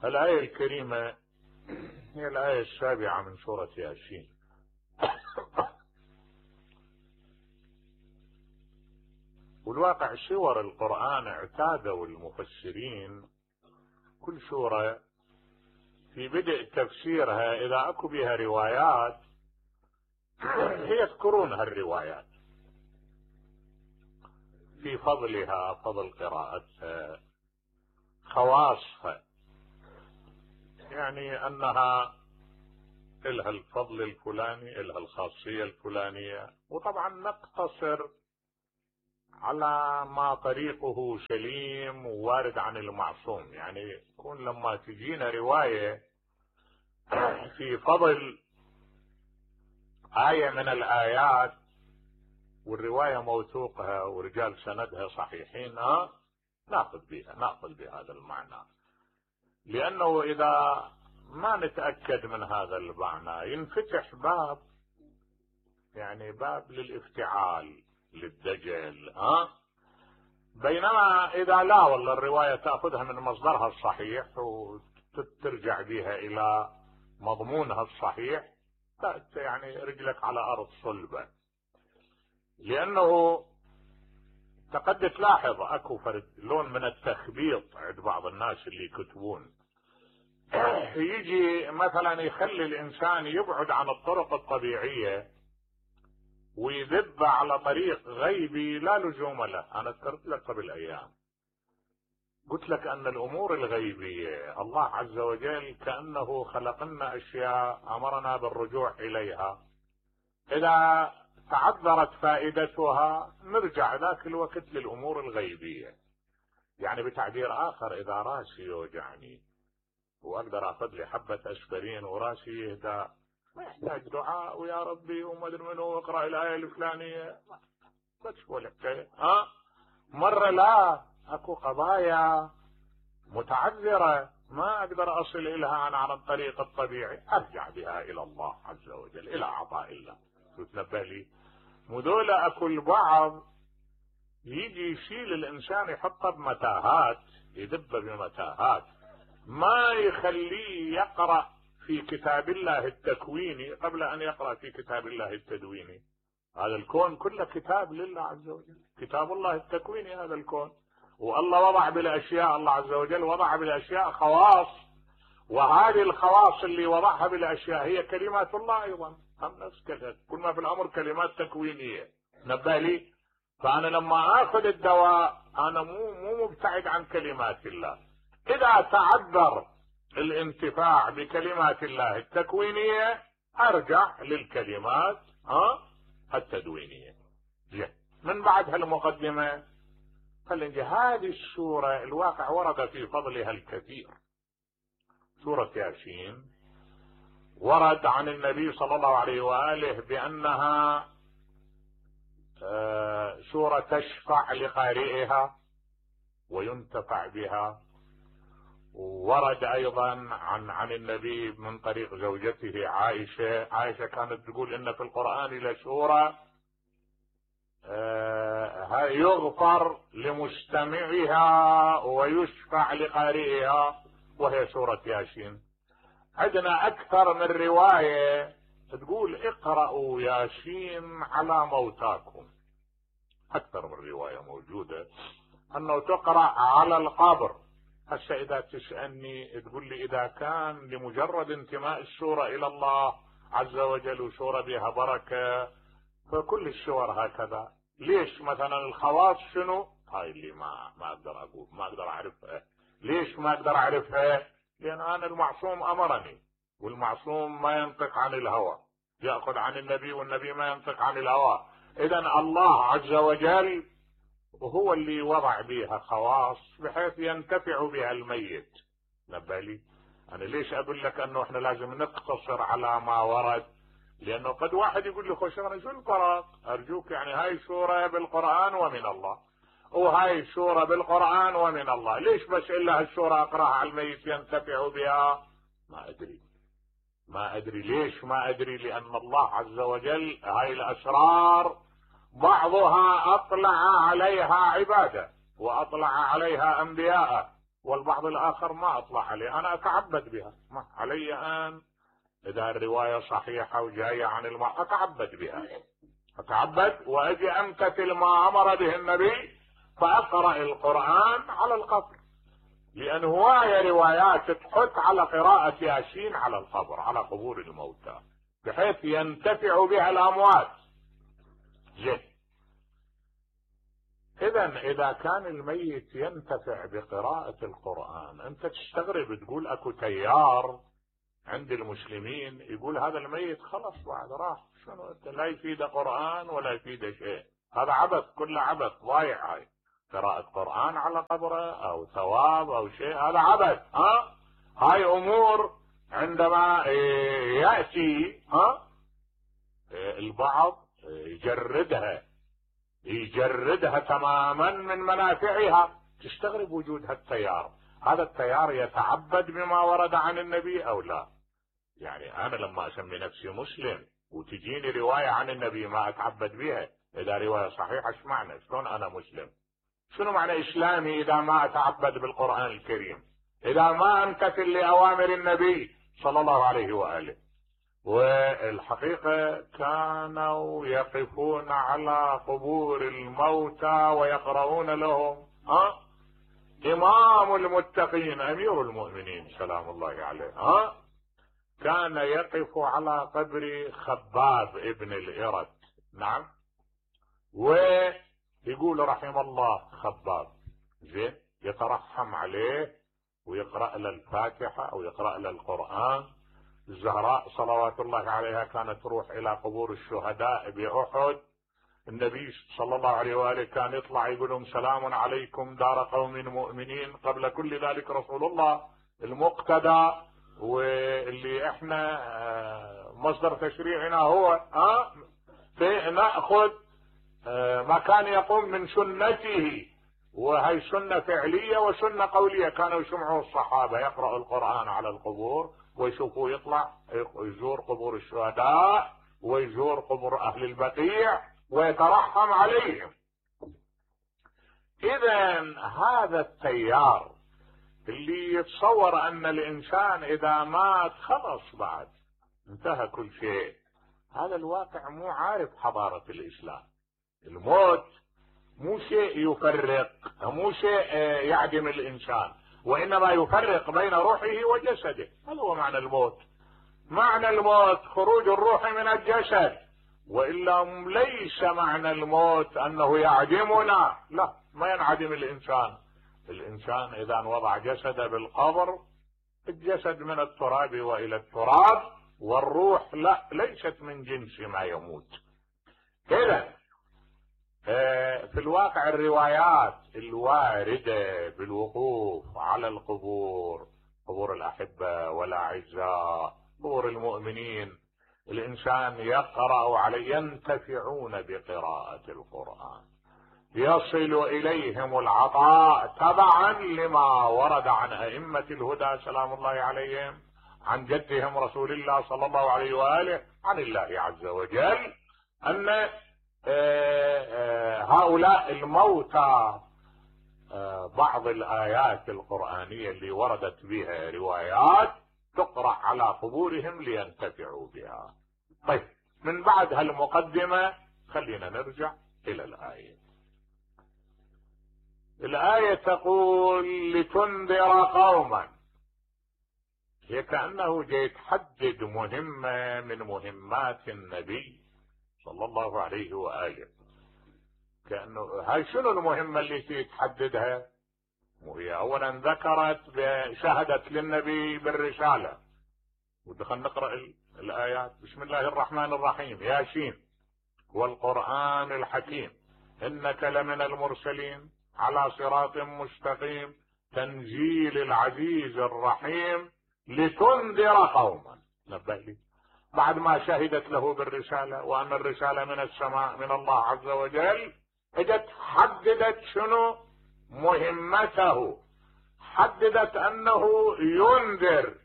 الآية الكريمة هي الآية السابعة من سورة ياسين. والواقع سور القرآن اعتادوا المفسرين كل سورة في بدء تفسيرها إذا أكو بها روايات يذكرون هالروايات في فضلها، فضل قراءتها، خواصها، يعني أنها إلها الفضل الفلاني، إلها الخاصية الفلانية. وطبعا نقتصر على ما طريقه سليم ووارد عن المعصوم. يعني يكون لما تجينا رواية في فضل آية من الآيات والرواية موثوقها ورجال سندها صحيحين، نأخذ بهذا المعنى، لأنه إذا ما نتأكد من هذا المعنى ينفتح باب، يعني باب للافتعال، للدجل. بينما إذا لا والله الرواية تأخذها من مصدرها الصحيح وترجع بها إلى مضمونها الصحيح، يعني رجلك على أرض صلبة. لأنه تقد تلاحظ أكو فرد لون من التخبيط عند بعض الناس اللي يكتبون، يجي مثلا يخلي الإنسان يبعد عن الطرق الطبيعية ويذب على طريق غيبي لا لزوم له. أنا ذكرت لك قبل أيام قلت لك أن الأمور الغيبية الله عز وجل كأنه خلق لنا أشياء أمرنا بالرجوع إليها، إذا تعذرت فائدتها نرجع ذاك الوقت للأمور الغيبية. يعني بتعبير آخر، إذا راسي يوجعني وأقدر أخذ لي حبة أسبرين وراسي يهدى، ما يحتاج دعاء ويا ربي وما أدري منو اقرأ الآية الفلانية، بس ولا حكاية. مرة لا، أكو قضايا متعذرة ما أقدر أصل إليها أنا عن الطريق الطبيعي، أرجع بها إلى الله عز وجل، إلى عطاء الله. تتنبه لي مدولة أكو البعض يجي يشيل الإنسان يحطه بمتاهات، يدب بمتاهات، ما يخليه يقرأ في كتاب الله التكويني قبل أن يقرأ في كتاب الله التدويني. هذا الكون كله كتاب لله عز وجل، كتاب الله التكويني هذا الكون. والله وضع بالأشياء، الله عز وجل وضع بالأشياء خواص، وهذه الخواص اللي وضعها بالأشياء هي كلمات الله أيضا، هم نفس كل ما في الأمر كلمات تكوينية. نبه لي، فأنا لما أخذ الدواء أنا مو مبتعد عن كلمات الله. إذا تعذر الانتفاع بكلمات الله التكوينية أرجع للكلمات التدوينية. من بعد هالمقدمة خلينا هذه السورة الواقع ورد في فضلها الكثير. سورة ياسين ورد عن النبي صلى الله عليه وآله بأنها سورة تشفع لقارئها وينتفع بها. ورد أيضا عن النبي من طريق زوجته عائشة كانت تقول إن في القرآن لسورة يغفر لمستمعها ويشفع لقارئها، وهي سورة ياسين. عندنا أكثر من رواية تقول اقرأوا ياسين على موتاكم، أكثر من رواية موجودة أنه تقرأ على القبر. هسه إذا تسألني تقول لي إذا كان لمجرد انتماء السورة إلى الله عز وجل وسورة بها بركة فكل السور هكذا، ليش مثلا الخواص شنو؟ هاي اللي ما أقدر أقول، ما أقدر أعرفها. ليش ما أقدر أعرفها؟ لأن أنا المعصوم أمرني، والمعصوم ما ينطق عن الهوى، يأخذ عن النبي والنبي ما ينطق عن الهوى. إذن الله عز وجل وهو اللي وضع بها خواص بحيث ينتفع بها الميت. نبالي أنا ليش أقول لك أنه إحنا لازم نقتصر على ما ورد؟ لأنه قد واحد يقول لي خوش أنا شو الفرق؟ أرجوك يعني هاي سورة بالقرآن ومن الله، وهاي سورة بالقرآن ومن الله، ليش بس إلا هالسورة أقرأها على الميت ينتفع بها؟ ما أدري ليش ما أدري. لأن الله عز وجل هاي الأسرار بعضها أطلع عليها عباده وأطلع عليها أنبياءه والبعض الآخر ما أطلع عليه، أنا أتعبد بها، ما علي أن إذا الرواية صحيحة وجاية عن أتعبد بها، أتعبد وأجي أمتثل ما أمر به النبي فأقرأ القرآن على القبر، لأن هواية روايات تحث على قراءة ياسين على القبر، على قبور الموتى، بحيث ينتفع بها الأموات. زين، إذا كان الميت ينتفع بقراءة القرآن، أنت تستغرب تقول أكو تيار عند المسلمين يقول هذا الميت خلص بعد راح، شنو لا يفيد قرآن ولا يفيد شيء، هذا عبث، كله عبث ضايع. هاي قراءة قرآن على قبره أو ثواب أو شيء، هذا عبث. هاي أمور عندما يأتي البعض يجردها تماما من منافعها، تستغرب وجود هالتيار. هذا التيار يتعبد بما ورد عن النبي أو لا؟ يعني أنا لما أسمي نفسي مسلم وتجيني رواية عن النبي ما أتعبد بها، إذا رواية صحيحة ايش معنى؟ شلون أنا مسلم؟ شنو معنى إسلامي إذا ما أتعبد بالقرآن الكريم، إذا ما أمتثل لأوامر النبي صلى الله عليه وآله؟ والحقيقة كانوا يقفون على قبور الموتى ويقرؤون لهم. إمام المتقين أمير المؤمنين سلام الله عليه كان يقف على قبر خباب ابن الإرد، نعم، ويقول رحم الله خباب، زين، يترحم عليه ويقرأ له الفاتحة أو يقرأ له القرآن. الزهراء صلوات الله عليها كانت تروح إلى قبور الشهداء بأحد، النبي صلى الله عليه وآله كان يطلع يقول لهم سلام عليكم دار قوم مؤمنين. قبل كل ذلك رسول الله المقتدى واللي احنا مصدر تشريعنا هو نأخذ ما كان يقوم من سنته، وهي سنة فعلية وسنة قولية. كانوا يسمعوا الصحابة يقرأوا القرآن على القبور ويشوفوا يطلع يزور قبور الشهداء ويزور قبور أهل البقيع ويترحم عليهم. إذا هذا التيار اللي يتصور أن الإنسان إذا مات خلص بعد انتهى كل شيء، هذا الواقع مو عارف حضارة الإسلام. الموت مو شيء يفرق، مو شيء يعدم الإنسان، وإنما يفرق بين روحه وجسده. هذا هو معنى الموت. معنى الموت خروج الروح من الجسد، وإلا ليس معنى الموت أنه يعدمنا، لا، ما ينعدم الإنسان. الإنسان إذا وضع جسده بالقبر، الجسد من التراب وإلى التراب، والروح لا، ليست من جنس ما يموت. إذا في الواقع الروايات الواردة بالوقوف على القبور، قبور الأحبة والأعزاء، قبور المؤمنين، الإنسان يقرأ عليه، ينتفعون بقراءة القرآن، يصل إليهم العطاء تبعا لما ورد عن أئمة الهدى سلام الله عليهم، عن جدهم رسول الله صلى الله عليه وآله، عن الله عز وجل، أن هؤلاء الموتى بعض الآيات القرآنية اللي وردت بها روايات تقرأ على قبورهم لينتفعوا بها. طيب، من بعد هالمقدمة خلينا نرجع إلى الآية. الآية تقول لتنذر قوما، هي كأنه جاي تحدد مهمة من مهمات النبي صلى الله عليه وآله. كأنه هاي شنو المهمة اللي تحددها؟ وهي أولا ذكرت شهدت للنبي بالرسالة، ودخل نقرأ الآيات. بسم الله الرحمن الرحيم، ياسين والقرآن الحكيم إنك لمن المرسلين على صراط مستقيم تنزيل العزيز الرحيم لتنذر قوما. نبه لي، بعد ما شهدت له بالرسالة وأن الرسالة من السماء من الله عز وجل، اجت حددت شنو مهمته، حددت أنه ينذر.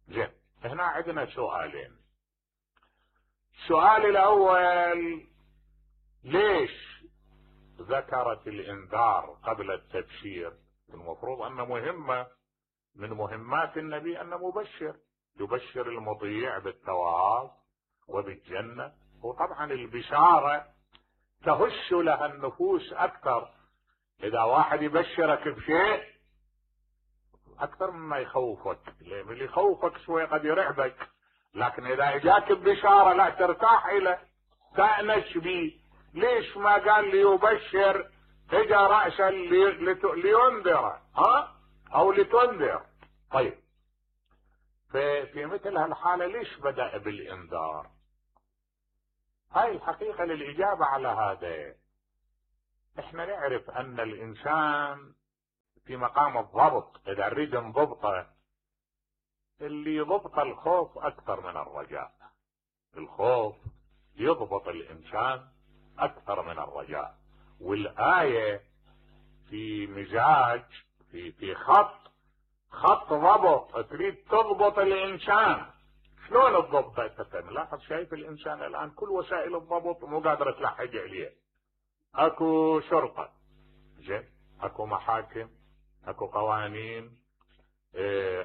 زين، هنا عندنا سؤالين. السؤال الأول، ليش ذكرت الإنذار قبل التبشير؟ المفروض أن مهمة من مهمات النبي أن مبشر، يبشر المطيع بالثواب وبالجنة. وطبعا البشارة تهش لها النفوس أكثر. إذا واحد يبشرك بشيء أكثر مما يخوفك، اللي يخوفك شوي قد يرعبك، لكن إذا إجاك ببشارة لا ترتاح إليه، تأنش به. ليش ما قال ليبشر اجى رأسا لينذر أو لتنذر؟ طيب في مثل هالحالة ليش بدأ بالإنذار؟ هاي الحقيقة للإجابة على هذا احنا نعرف أن الإنسان في مقام الضبط، إذا نريد نضبطه، اللي يضبط الخوف أكثر من الرجاء. الخوف يضبط الإنسان أكثر من الرجاء. والآية في مزاج، في خط ضبط، تريد تضبط الإنسان. شلون الضبط؟ أنت ملاحظ شايف الإنسان الآن كل وسائل الضبط مو قادرة تلحق عليه. أكو شرطة، زين، أكو محاكم، أكو قوانين،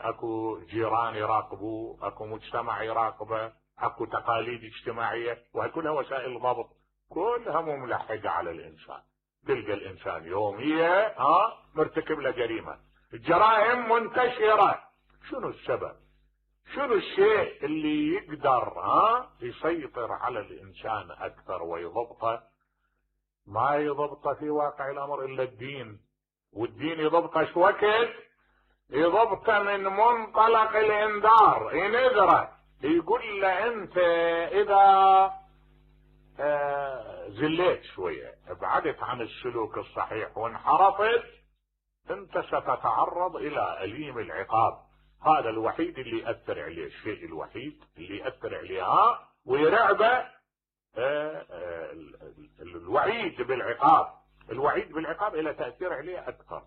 أكو جيران يراقبوه، أكو مجتمع يراقبه، أكو تقاليد اجتماعية، وهي كلها وسائل ضبط، كلها مو ملحقة على الإنسان. تلقى الإنسان يوميا مرتكب له جريمة، الجرائم منتشرة. شنو السبب؟ شنو الشيء اللي يقدر يسيطر على الإنسان أكثر ويضبطه؟ ما يضبطه في واقع الأمر إلا الدين. والدين يضبطه شو وقت؟ يضبطه من منطلق الإنذار، ينذره، يقول له أنت إذا زليت شوية، ابعدت عن السلوك الصحيح وانحرفت، أنت ستتعرض إلى أليم العقاب. هذا الوحيد اللي يأثر عليه، الشيء الوحيد اللي يأثر عليه ويرعبه الوعيد بالعقاب. الوعيد بالعقاب إلى تأثير عليه أكثر،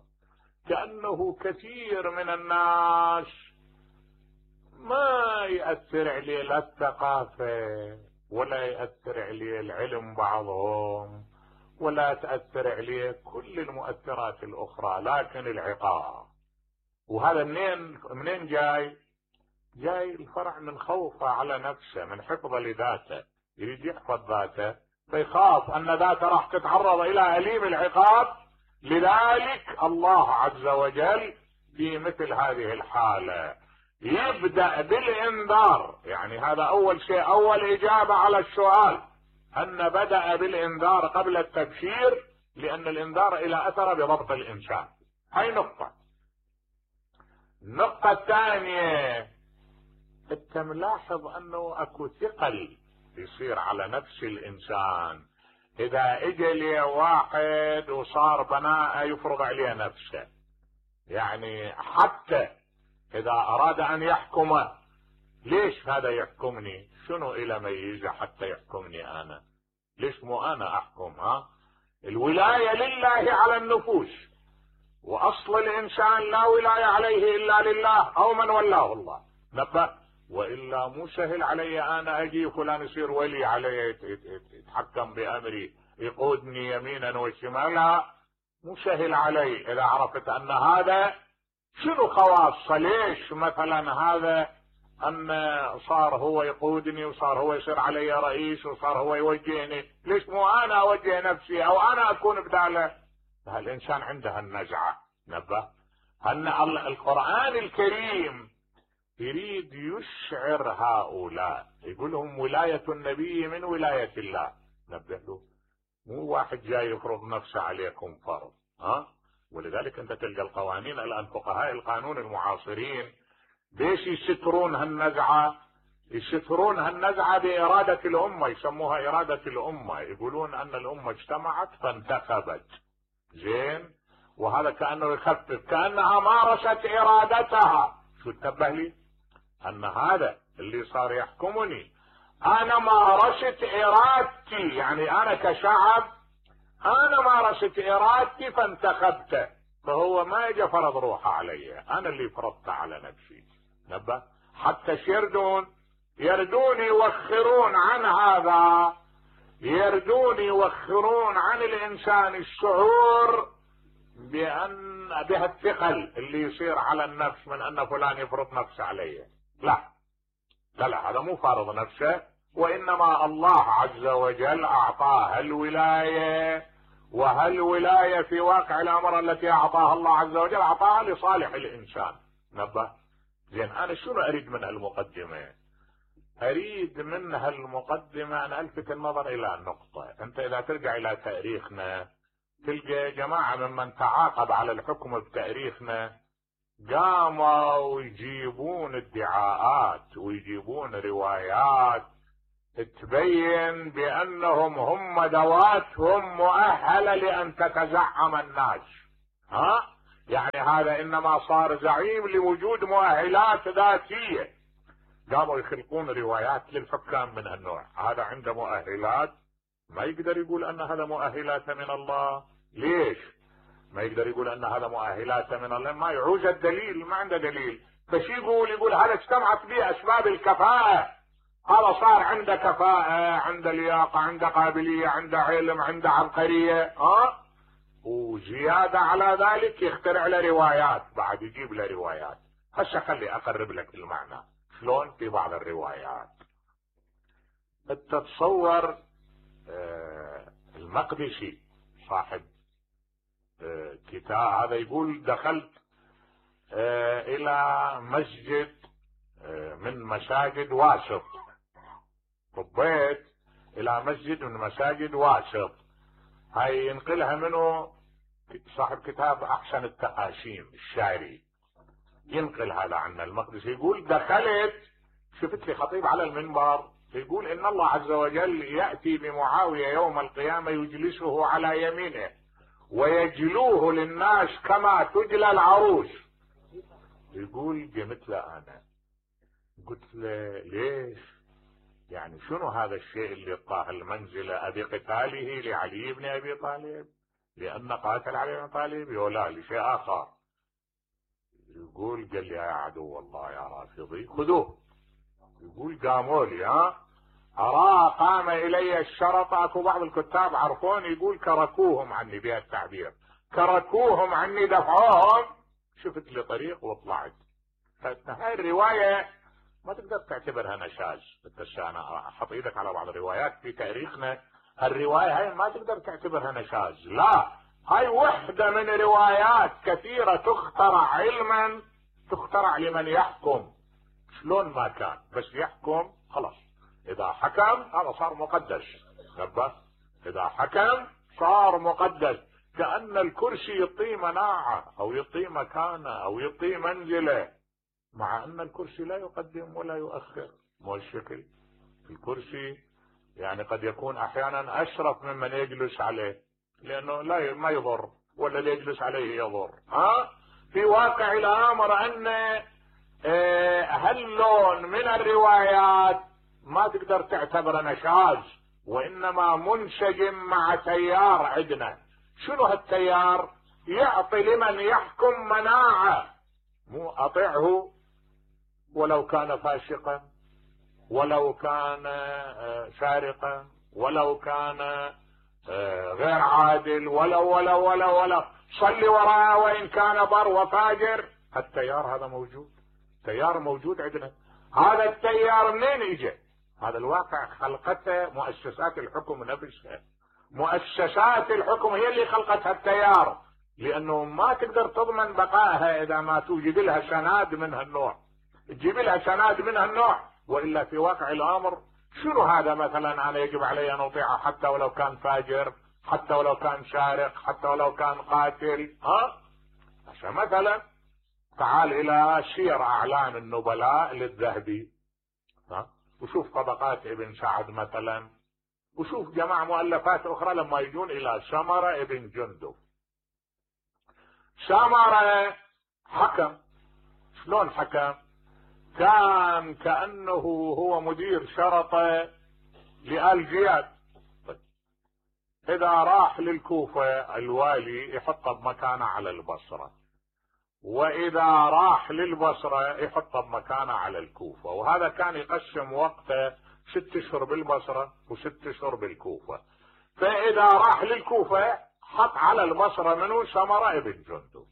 كأنه كثير من الناس ما يأثر عليه لا الثقافة، ولا يأثر عليه العلم بعضهم، ولا تأثر عليه كل المؤثرات الأخرى، لكن العقاب. وهذا منين جاي؟ جاي الفرع من خوفه على نفسه، من حفظه لذاته، يريد يحفظ ذاته، فيخاف أن ذاته راح تتعرض إلى أليم العقاب. لذلك الله عز وجل في مثل هذه الحالة يبدأ بالإنذار. يعني هذا أول شيء، أول إجابة على السؤال، أن بدأ بالإنذار قبل التبشير، لأن الإنذار إلى أثر بضبط الإنسان. هاي نقطة. النقطة الثانية، انت ملاحظ أنه أكو ثقل يصير على نفس الإنسان إذا اجى لي واحد وصار بناء يفرض عليه نفسه. يعني حتى إذا أراد أن يحكمه، ليش هذا يحكمني؟ شنو إلى ميزة حتى يحكمني أنا؟ ليش مو أنا أحكم؟ الولاية لله على النفوس، وأصل الإنسان لا ولاية عليه إلا لله أو من ولاه الله. نبه، وإلا مو سهل علي أنا أجي فلان يصير ولي علي، يتحكم بأمري، يقودني يمينا وشمالا، مو سهل علي. إذا عرفت أن هذا شنو خواصه، ليش مثلا هذا أن صار هو يقودني وصار هو يصير علي رئيس وصار هو يوجهني، ليش مو أنا أوجه نفسي أو أنا أكون بداله؟ الإنسان عنده النزعة. نبه، أن القرآن الكريم يريد يشعر هؤلاء، يقول لهم ولاية النبي من ولاية الله. نبه له، مو واحد جاي يفرض نفسه عليكم فرض. ولذلك انت تلقى القوانين الان، فقهاء القانون المعاصرين ليش يسترون هالنزعة؟ يسترون هالنزعة بإرادة الأمة، يسموها إرادة الأمة، يقولون أن الأمة اجتمعت فانتخبت. زين، وهذا كأنه يخفف، كأنها مارست إرادتها. شو انتبه لي؟ أن هذا اللي صار يحكمني أنا مارست إرادتي، يعني أنا كشعب أنا مارست إرادتي فانتخبته، فهو ما يجي فرض روحه علي، أنا اللي فرضت على نفسي. نبه، حتى يردون يوخرون عن يوخرون عن الإنسان الشعور بها الثقل اللي يصير على النفس من ان فلان يفرض نفسه عليه. لا لا لا، هذا مو فارض نفسه، وانما الله عز وجل اعطاه الولاية، وهالولاية في واقع الامر التي اعطاها الله عز وجل اعطاها لصالح الانسان. نبه. زين، انا شنو اريد من المقدمة؟ اريد منها المقدمة ان الفت النظر الى النقطة. انت اذا ترجع الى تاريخنا تلقى جماعة ممن تعاقب على الحكم بتاريخنا قاموا يجيبون ادعاءات ويجيبون روايات تبين بانهم هم ذواتهم مؤهلة لان تتزعم الناس. يعني هذا انما صار زعيم لوجود مؤهلات ذاتية. قاموا يخلقون روايات للحكام من هالنوع. هذا عنده مؤهلات، ما يقدر يقول ان هذا مؤهلات من الله. ليش ما يقدر يقول ان هذا مؤهلات من الله؟ ما يعوز الدليل، ما عنده دليل. فش يقول هذا اجتمعت به اسباب الكفاءة، هذا صار عنده كفاءة، عنده لياقة، عنده قابلية، عنده علم، عنده عبقرية. وزيادة على ذلك يخترع له روايات، بعد يجيب له روايات. هسه خلي اقرب لك المعنى شلون في بعض الروايات. تتصور المقدسي صاحب كتاب هذا يقول دخلت الى مسجد من مساجد واسط، طبيت الى مسجد من مساجد واسط. هاي ينقلها منه صاحب كتاب احسن التقاسيم الشاعري، ينقل هذا عن المقدسي. يقول دخلت، شفت لي خطيب على المنبر يقول ان الله عز وجل يأتي بمعاوية يوم القيامة يجلسه على يمينه ويجلوه للناس كما تجلى العروس. يقول قمت له انا قلت له ليش؟ يعني شنو هذا الشيء اللي طاه المنزلة؟ ابي قتاله لعلي بن ابي طالب لان قاتل علي بن طالب ولا لشيء اخر؟ يقول قال لي يا عدو الله يا رافضي خذوه. يقول قاموا لي اراه قام الي الشرطة. اكو بعض الكتاب عرفون يقول كركوهم عني، بها التعبير كركوهم عني، دفعوهم، شفت لي طريق وطلعت. هاي الرواية ما تقدر تعتبرها نشاز. انا احط ايدك على بعض الروايات في تاريخنا، الرواية هاي ما تقدر تعتبرها نشاز، لا، هاي وحدة من روايات كثيرة تخترع علما، تخترع لمن يحكم شلون ما كان، بس يحكم خلاص. اذا حكم هذا صار مقدس. نبه. اذا حكم صار مقدس، كأن الكرسي يعطيه مناعة او يعطيه مكانة او يعطيه منزلة، مع ان الكرسي لا يقدم ولا يؤخر. مو الشكل الكرسي يعني قد يكون احيانا اشرف ممن يجلس عليه، لانه لا ما يضر، ولا اللي يجلس عليه يضر. في واقع الامر ان هاللون من الروايات ما تقدر تعتبره نشاز، وانما منسجم مع تيار عندنا. شنو هالتيار؟ يعطي لمن يحكم مناعة، مو اطيعه ولو كان فاسقا، ولو كان سارقا، ولو كان غير عادل، ولو صلي وراءه وان كان بر وفاجر. التيار هذا موجود، تيار موجود عندنا. هذا التيار منين اجى؟ هذا الواقع خلقته مؤسسات الحكم نفسها. مؤسسات الحكم هي اللي خلقت هالتيار، لانه ما تقدر تضمن بقائها اذا ما توجد لها سناد من هالنوع. تجيب لها سناد من هالنوع، والا في واقع الامر شنو هذا؟ مثلا انا يجب علي ان اطيعه حتى ولو كان فاجر، حتى ولو كان سارق، حتى ولو كان قاتل. عشان مثلا تعال الى سير اعلام النبلاء للذهبي، وشوف طبقات ابن سعد مثلا، وشوف جماعة مؤلفات اخرى لما يجون الى سمرة ابن جندب. سمرة حكم، شلون حكم؟ كان كأنه هو مدير شرطة لآل زياد. اذا راح للكوفة الوالي يحطه بمكانه على البصرة، واذا راح للبصرة يحطه بمكانه على الكوفة، وهذا كان يقسم وقته 6 اشهر بالبصرة و6 اشهر بالكوفة. فاذا راح للكوفة حط على البصرة منه سمرة ابن جندب.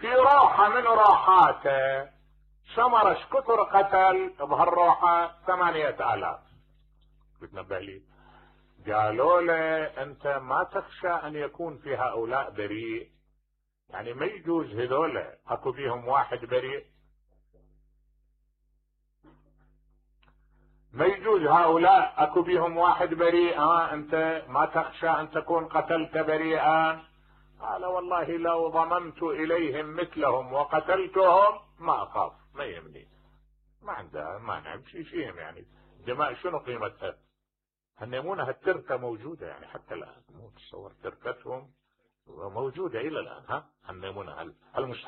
في روحة من روحاته سمرة شكثر قتل بهالروحة 8000. بتنبه لي قالوا له انت ما تخشى ان يكون في هؤلاء بريء؟ يعني ما يجوز هذول اكو فيهم واحد بريء؟ ما يجوز هؤلاء اكو بيهم واحد بريء؟ انت ما تخشى ان تكون قتلت بريئا؟ قال والله لو ضممت اليهم مثلهم وقتلتهم ما اخاف، ما يهمني، ما عنده مانع بشي فيهم. يعني دماء شنو قيمتها؟ هالنمونة هالتركة موجودة يعني حتى الان، مو تصور تركتهم موجودة الى الان. هالنمونة